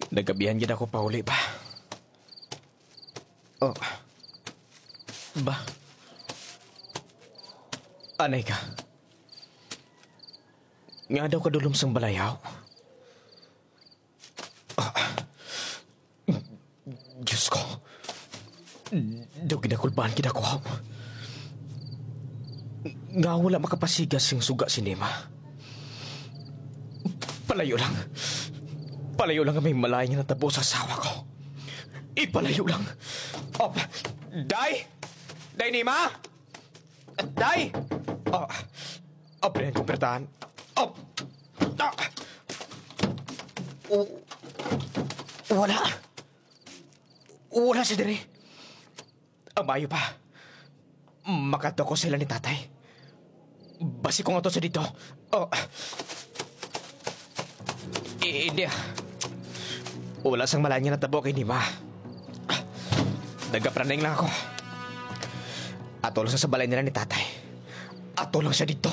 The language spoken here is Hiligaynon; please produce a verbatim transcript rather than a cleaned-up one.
Nagabihan gid ako pauli ba. Oh. Ba? Anay ka. Nga daw kadulom sang balayaw. Ah. Diyos ko. Daw ginakulbaan gid ako. Nga wala makapasigas sing suga si Nima. Palayo lang. Palayo lang nga may malain nga natabo sa asawa ko. Ipalayo lang. Oh, Day! Day Nima! Day! Oh, abrihan kong pertahan. Oh! Ah! Oh! Wala. Wala si diri. Ang maayo pa, makadto ko sila ni tatay. Basi kung ato sa dito. Oh. I-, hindi, ah. Wala sang malain nga natabo kay Nima. Nagapraneng lang ako. Ato lang sa, sa balay nila ni tatay. Ato lang siya dito.